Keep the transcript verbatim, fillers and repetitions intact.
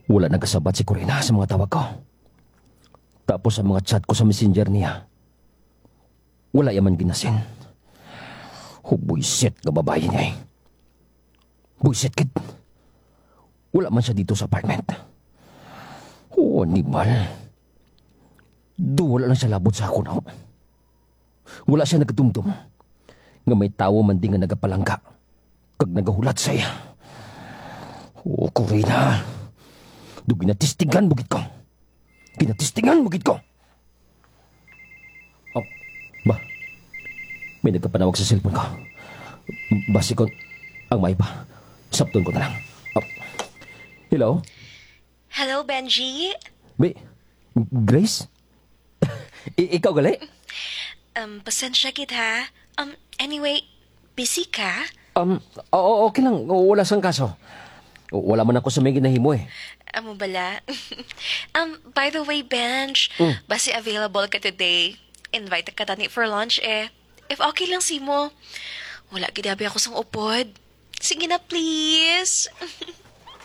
Wala nagasabat si Corina sa mga tawag ko. Tapos ang mga chat ko sa messenger niya, wala ya man ginasin. Hubuisit nga babayi niya eh. Buisit gid. Wala man siya dito sa apartment. Oh, animal. Duwala lang siya labot sa ako, no? Wala siya nagdumdom nga may tawo man di nga nagapalangga kag nagahulat sa iya. Oh, Corina. Do ginatistingan mo gid ko. Ginatistingan mo gid ko. Oh, ba? May nagkapanawag sa cellphone ko. Basi ko ang may pa. Sapton ko na lang. Oh. Hello? Hello, Benji. Bi, Grace? I- ikaw gali? Um, pasensya gid ha. Um, anyway, busy ka? Um, oo, okay lang. Wala sang kaso. Wala man ako sa may ginahimo eh. Amo bala. Um, by the way, Benj, Mm. basi available ka today. Invite ka tani for lunch eh. If okay lang simo. Wala gid abi ako sang upod. Sige na, please.